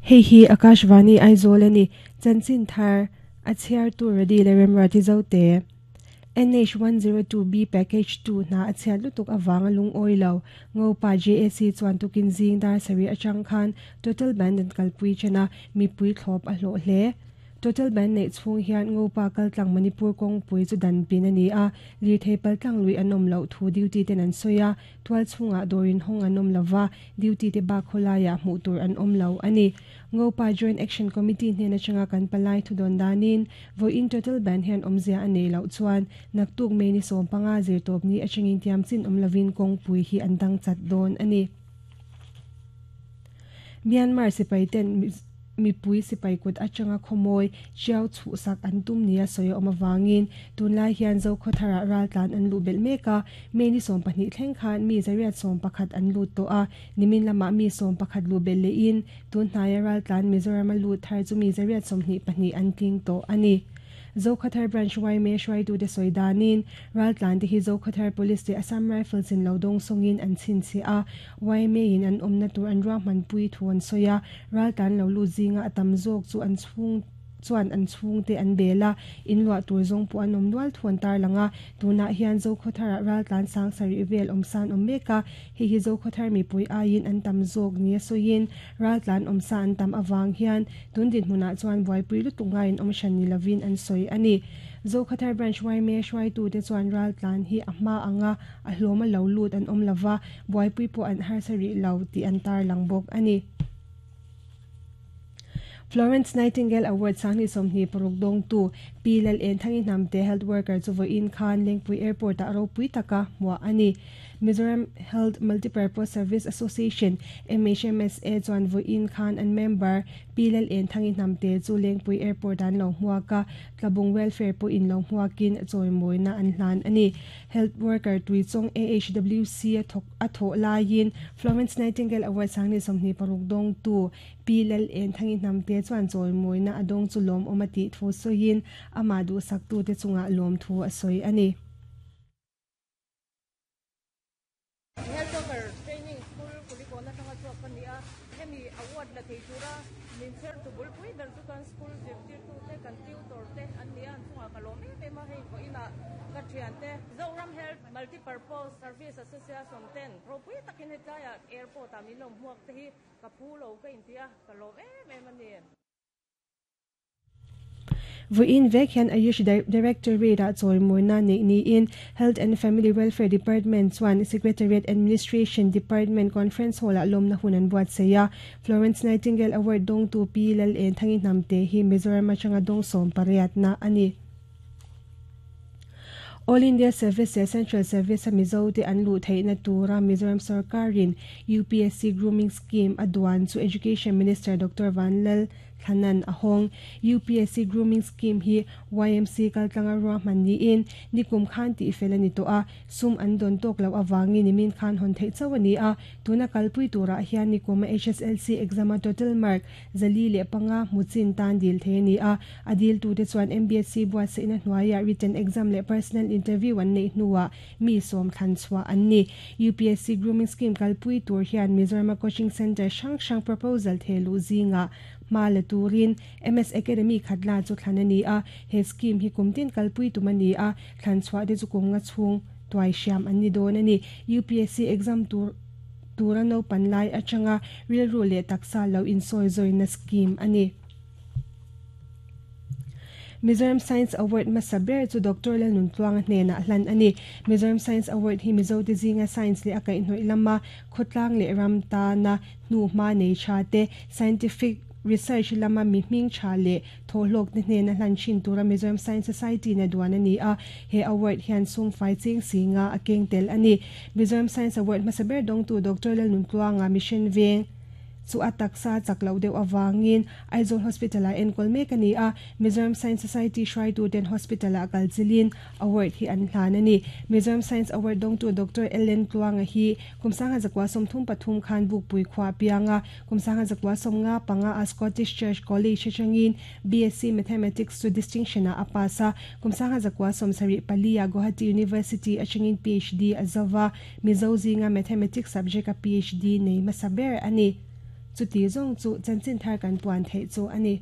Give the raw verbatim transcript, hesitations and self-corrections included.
Hei hi Akashvani Aizawl ani chanchin thar a chhiar tu ready le remrati zote N H one zero two B package two na a chhiat lutuk awanga lung oilo ngopa J A C chuan tukin zing dar sari atang khan total ban an kalpui chana mi pui thlop a hlo hle total ban nei chung hian ngopa kaltlang Manipur kong pui chu dan pin ani a lir thei paltlang lui anom lo thu duty ten an soya twal chunga dorin hong anom lova duty te ba kholaya mu tur an om lo ani ngopa Joint Action Committee hne na changa kan palai thu don danin vo in total ban hian omzia anei lo chuan naktuk me ni som panga zir top ni achangin tiam chin om lovin kong pui hi andang chat don ani Myanmar sipai ten mi pui sipai kut atanga khomoi chiao chu sak an tum nia soyo omawangin tunlai hian zo khothara ral tlan an lu bel meka meni som pahnih thleng khan mi zariat som pakhat an lu to a nimin lama mi som pakhat lu bel le in tun hnaya ral tlan Mizoram lu thar chu mi zariat som hnih pahnih an tling to ani Zokhathar branch Y me shwai tu de soidanin ral tlan te hi Zokhathar police te Assam Rifles in lodong songin an chin chi a Y me in an omna tur an ro man pui thuan soya ral tlan lo lu zinga atam zok chu an chung chuan an chung te an bela in lwa tur zong pu an om nual thuan tar langa tuna hian Zokhathar ral tlan sang sari vel omsan om meka hi hi Zokhathar mi pui ain an tam zok ni soin ral tlan omsa an tam awang hian tun din hmuna chuan buai pui lu tunga in omshan ni lovin an soi ani Zokhathar branch Y me shwai tu te chuan ral tlan hi ahma anga a hloma lo lut an om lova buai pui po an har sari lo ti an tar langbok ani Florence Nightingale Award sangni somni paruk dong tu P L N thangi namte health worker chu vo in khan Lengpui airport a ro pui taka mwa ani Mizoram Health Multipurpose Service Association M H M S A chuan vo in khan an member P L N thangi namte chu Lengpui airport an lo hmuaka ka tlabung welfare po in lo hmuakin choi na an hlan ani health worker tui chong A H W C a thok a tho lain Florence Nightingale Award sangni somni paruk dong tu P L N thangi namte chuan choi moina adong chu lom omati thu soin ama du saktu te chunga lom thu a soi ani health worker training school kulikona tanga chu kania hemi award la thei tura min cher tu bul pui ber chu kan school zirtir tu te kan tutor te ania chunga ka lom em em a hei ko ina ka thian te Zoram Health Multipurpose Service Association ten pro pui takin he tlaya airport a min lom huak te hi ka phu lo ka intia ka lom em em ani Voin vek hian Ayush Directorate a choi moina nei ni in Health and Family Welfare Department chuan Secretariat Administration Department Conference Hall a lomna hunan buat seya Florence Nightingale Award dong tu P L N thangi namte hi Mizoram atanga dong som pariat na ani All India Service Central Service Mizo te an lu theina tura Mizoram Sarkarin U P S C Grooming Scheme adwan chu Education Minister Doctor Vanlal Thanan ahong U P S C Grooming Scheme hi Y M C kaltlanga ro manni in nikum khan ti felani to a sum an don tok lo awangi nimin khan hon thei chawani a tuna kalpui tura hian nikuma H S L C exam total mark zali le panga muchin tan dil theni a adil tu te chuan M B S C bua se ina hnuaya written exam le personal interview an nei hnuwa mi som than chwa an ni U P S C Grooming Scheme kalpui tur hian Mizoram Coaching Center sang sang proposal thelu zinga ma turin M S Academy khatla chu thlanani a he scheme hi kumtin kalpui tumani a thlan chwa de chu kumnga chung tuai siam anni don ani U P S C exam tur turano panlai achanga real ru le taksa lo in soi zoina scheme ani Mizoram Science Award masaber chu Doctor Lalnun Tluang hne na hlan ani Mizoram Science Award hi Mizo te zinga science le akai hnoi lama khotlang le ram ta na hnu ma nei cha te scientific research lama mi hming cha le tholok ne hne na hlan chin tura Mizoram Science Society na duan ani a he award hian sum fai ching singa akeng tel ani Mizoram Science Award masaber dong tu Doctor Lalnun Tluanga Mission Veng chu ataksa chaklo deuh awangin Aizawl Hospital a enkol mek ani a Mizoram Science Society Shrai tu ten Hospital a kalchilin award hi an hlan ani Mizoram Science Award dong tu Doctor Ellen Tluanga hi kumsanga zakwa somthum pathum khan buk pui khwa pianga kumsanga zakwa somnga panga a Scottish Church College changin B S C Mathematics to distinction a apasa kumsanga zakwa somsari palia Guwahati University achangin P H D azawa Mizo zinga Mathematics subject a P H D nei masaber ani Chuti zawng chu chanchin thar kan puan theih chu a ni.